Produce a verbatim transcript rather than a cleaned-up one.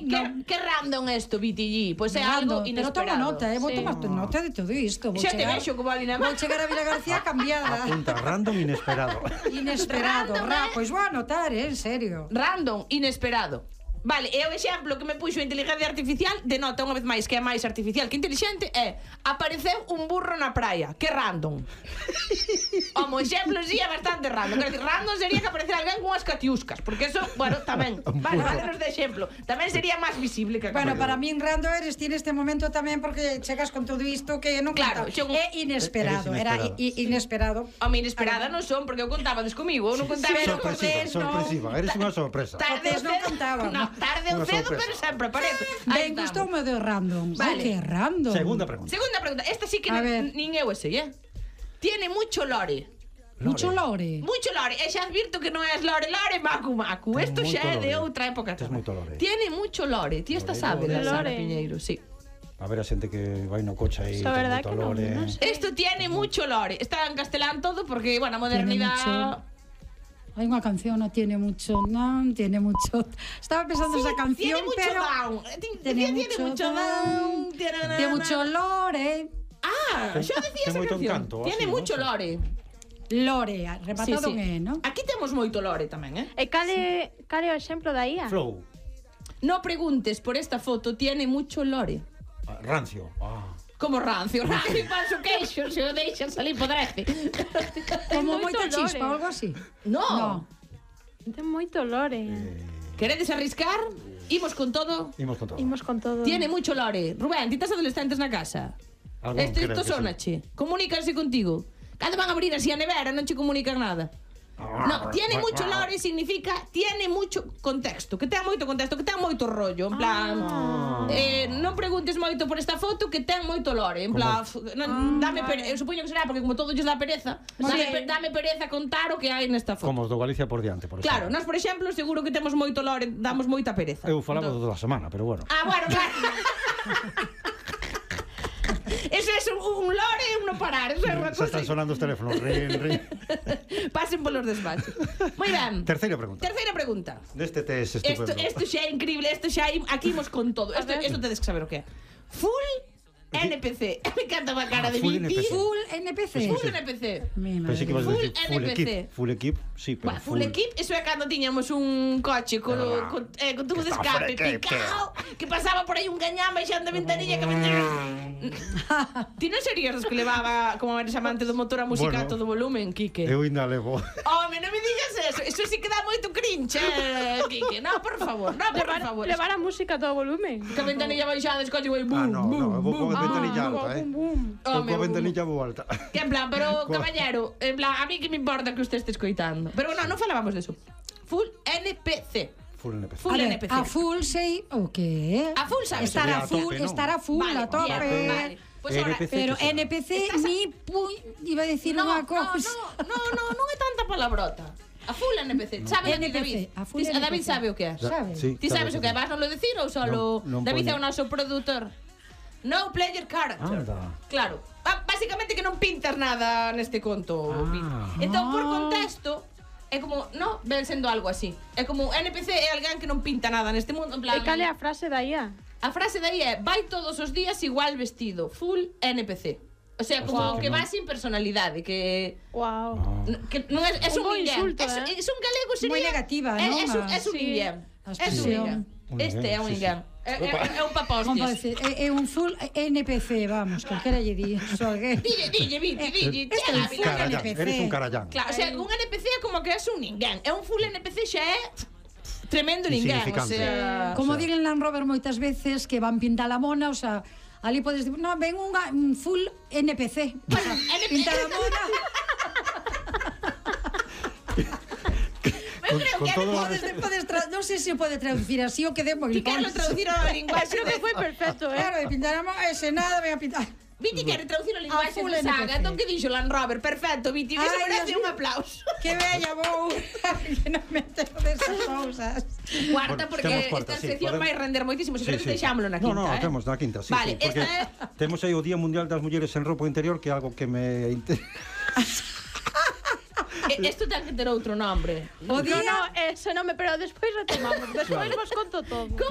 Viti, que, que random esto, Viti G? Pois é algo inesperado. Pero toma nota, eh, vou tomar nota de todo isto. Xa te vexo como ali na Vou chegar a Vila García cambiada. Apunta, random inesperado. Inesperado, ra, pois vou anotar, eh, en serio. Random, inesperado. Vale, e o exemplo que me puxo a inteligencia artificial denota unha vez máis que é máis artificial que inteligente é apareceu un burro na praia. Que random. Como exemplo, sí, é bastante random. Quero decir, random sería que aparecera alguén con as catiuscas, porque eso, bueno, tamén. Vale, valenos de exemplo. Tamén sería máis visible que Bueno, para min random eres ti neste momento tamén porque chegas con todo isto que non claro, contaba. xo... É inesperado, era inesperado. A mí inesperada non son, porque eu contaba comigo, eu non contaba. Sorpresiva, sorpresiva, eres unha sorpresa. Tardes non contaba. Tarde ou cedo, pero sempre aparece. Ben, gustoume de random. Vale. Que random. Segunda pregunta. Segunda pregunta. Esta sí que nin eu sei, eh? Tiene mucho lore. Mucho lore. Mucho lore. E xa advirto que non é lore lore macu macu. Isto xa é de outra época. Tiene mucho lore. Ti esta sabe da Sara Piñeiro, sí. A ver a xente que vai no coche aí, ten moito lore. Isto tiene mucho lore. Está en castelán todo porque, bueno, a modernidade... Hai unha canción, non tiene mucho, non tiene mucho. Estaba pensando sí, esa canción, tiene mucho pero down. Tiene, tiene mucho down. Tiene mucho lore. Ah, xa decía esa canción. Encanto, tiene así, mucho ¿no? lore. Lore, rematado sí, sí. en E, ¿no? Aquí temos moito lore tamén, eh? E cale, cale o exemplo da I A? Flow. No preguntes por esta foto, tiene mucho lore. Ah, rancio. Ah. Como rancio, rancio panso queixo, se o deixan salir podrece. Como moita chispa ou algo así. No. no. Ten moito lore. Eh... Queredes arriscar? Imos con todo. Imos con todo. Imos con todo. Tiene mucho lore. Rubén, ti estás adolescentes na casa? Isto isto sonache. Comunícanse contigo. Cando van a abrir así a nevera non che comunican nada. No, tiene mucho lore significa tiene mucho contexto, que ten moito contexto, que ten moito rollo, en plan, ah. eh, non preguntes moito por esta foto, que ten moito lore, en plan, non, dame pereza, eu supoño que será porque como todo lles dá pereza, dame, sí. dame pereza contar o que hai nesta foto. Como os do Galicia por diante, por exemplo. Claro, nós por exemplo, seguro que temos moito lore, damos moita pereza. Eu falaba do da semana, pero bueno. Ah, bueno, claro. Eso es un, un lore e un no parar. Eso é unha cosa. Se están sonando os teléfonos. Rin, rin. Pasen polos despachos. Moi ben. Terceira pregunta. Terceira pregunta. Deste test estupendo. Isto xa é increíble. Isto xa aquí imos con todo. Isto tedes que saber o que é. Full N P C. Me encanta a cara de Viti. Full N P C. Full N P C. Pensei que ibas a decir full equip. Full equip, sí, pero full equip, eso é cando tiñamos un coche con con tubo de escape picado, que pasaba por aí un gañán baixando a ventanilla que Ti non serías os que levaba como eres amante do motor a música a todo volumen, Quique? Eu ainda levo. Home, non me digas eso. Eso sí que dá moito cringe, Quique. No, por favor, no, por favor. Levar a música a todo volumen. Que a ventanilla baixada, escolle vai bum, Ah, no, no, vou con a ventanilla alta, eh. Vou con a ventanilla vou alta. Que en plan, pero caballero, en plan, a mí que me importa que usted este escoitando. Pero no, non falábamos de eso. Full N P C. Full N P C. Full a N P C. A full sei o que? A full sabes. Estar a full, estar a full, a tope. Vale. Pues ahora, pero N P C ni iba a decir unha cousa. No, no, no, non é tanta palabrota. A full N P C. Sabe David? A full N P C. David sabe o que é. Sabe. Ti sabes o que é? Vas non lo decir ou solo David é o noso produtor? No player character. Claro. Básicamente que non pintas nada neste conto. Entón, por contexto, é como, no, ven sendo algo así. É como N P C é alguén que non pinta nada neste mundo, en plan. E cal é a frase da I A? A frase de aí é, vai todos os días igual vestido, full N P C. O sea, como wow, que, que va sin personalidade, que... Wow. Que non é, é un, un insulto, eh? É un galego sería... Moi negativa, non? É, é, un, é un ninguén. É un ninguén. Este é un ninguén. É, é, é un papostias. É, é un full N P C, vamos, calquera lle di. Dille, dille, Viti, dille. Este é un full N P C. Eres un carallán. Claro, o sea, un N P C é como que é un ninguén. É un full N P C xa é... tremendo ninguén, o sea... Como diren Land Rover moitas veces que van pintar a mona, o sea, ali podes dir, no, ven un full N P C. O sea, pintar a mona. Eu creo que podes, podes tra... non sei se pode traducir así o que de moi. Ti quero traducir ao linguaxe. Creo que foi perfecto, eh. Claro, de pintar a mona, ese nada, ven a pintar. Viti quere traducir o linguaxe de Saga. Entón que dixo Land Rover? Perfecto, Viti, iso merece un aplauso. Que bella vou. Que non me entero desas cousas. Cuarta, porque esta sección vai render moitísimo. Se queres deixámoslo na quinta. No, no, temos na quinta, sí. Vale, porque temos aí o Día Mundial das Mulleres en Roupa Interior, que é algo que me interesa. Isto ten que ter outro nombre. O día... No, no, ese nome, pero despois retomamos. Despois vos conto todo.